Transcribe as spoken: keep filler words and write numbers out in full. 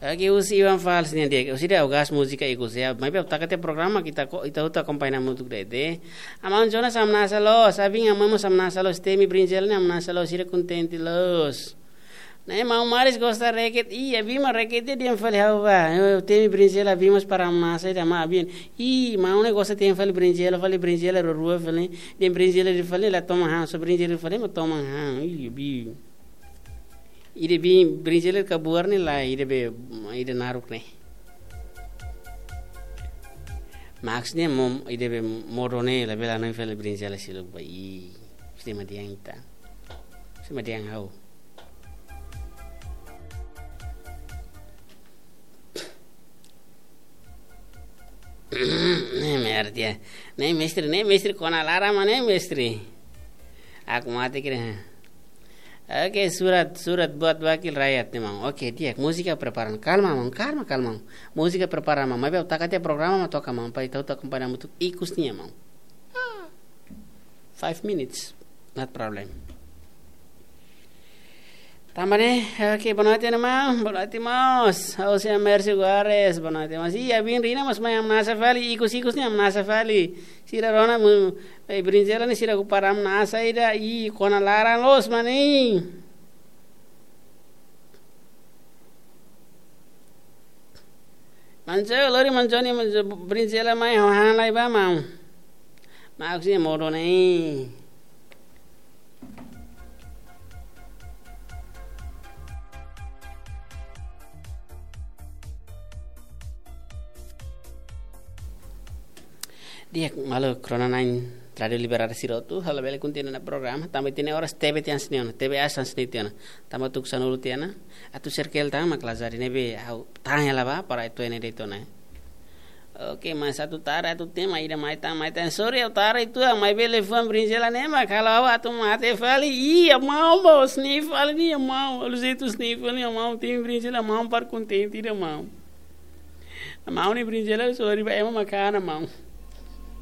Oke, husi Iwan Fals nian de'it. Husi ida, ha'u gosta múzika ikus ya. Maibé ha'u taka tiha programa, ita ko, ita hotu akompaña hamutuk de'it. Amaun Jonas hamnasa loos, Abin, amaun mós hamnasa loos, temi brinjela ne'e hamnasa loos, sira kontente loos. Ne'e maun Maris gosta reket, ih, Abin mak reket dehan fali ha'u ba. Eh, temi brinjela Abin mós para hamnasa ida mak Abin. Ih, maun ne'e gosta temi fali brinjela, fali brinjela rua-rua fali. Dehan brinjela ida fali la toman han, só brinjela ida fali mak toman han. Ih, Abin. Ida be brinjela kabuar ne'e lae, ida be, ida naruk ne'e. Maksudnya mom, ida be modo ne'e labele hanoin fali brinjela seluk ba, ih. Mesti madiang ita. Mesti madiang ha'u. Ne'e merda. Ne'e mestre, ne'e mestre kona laran mak ne'e mestre. Aku mate kira. Oke, surat, surat buat wakil rakyat ne'e maun. Oke, di'ak, múzika prepara. Kalma maun, kalma, kalma maun. Múzika prepara maun. Maibé ha'u taka tiha programa mak toka maun. Para ita hotu akompaña hamutuk ikus nian maun. Ah, five minutes, not problem. Tanba ne'e, oke, boa noite, maun. Boa noite, maun. Ha'u sei Mercy Guares, boa noite, maun. Ih, Abin Rina mós mai hamnasa fali, ikus-ikus ne'e hamnasa fali. Sira rona mu, eh, brinjela ne'e sira ku para hamnasa ida, ih, kona laran loos mak ne'e. Manco, lori manco ni manco brinjela mai ho han lai ba maun. Maun sei modo ne'e. Di'ak, maluk rona-na'in Rádiu Liberdade sira hotu, ha'u labele kontinua ona programa, tanba ita-nia oras T V tiha hanesan ne'e ona, T V hanesan ne'e tiha ona. Tanba tuku sanulu tiha ona, atu serkel tan mak lazari ne'ebé ha'u tahan hela ba, para atu ene de'it ona. Oke, mas atu tara, atu tema, ida mai tan, mai tan. Sorry, ha'u tara uitoan, maibé liafuan brinjela ne'e mak halo ha'u atu mate fali. Ih, amaun, bos, ne'e fali ne'e amaun. Alu jeitu ne'e fali ne'e amaun, temi brinjela amaun para kontente ida maun. Amaun ne'e brinjela, sorry ba ema mak hana maun.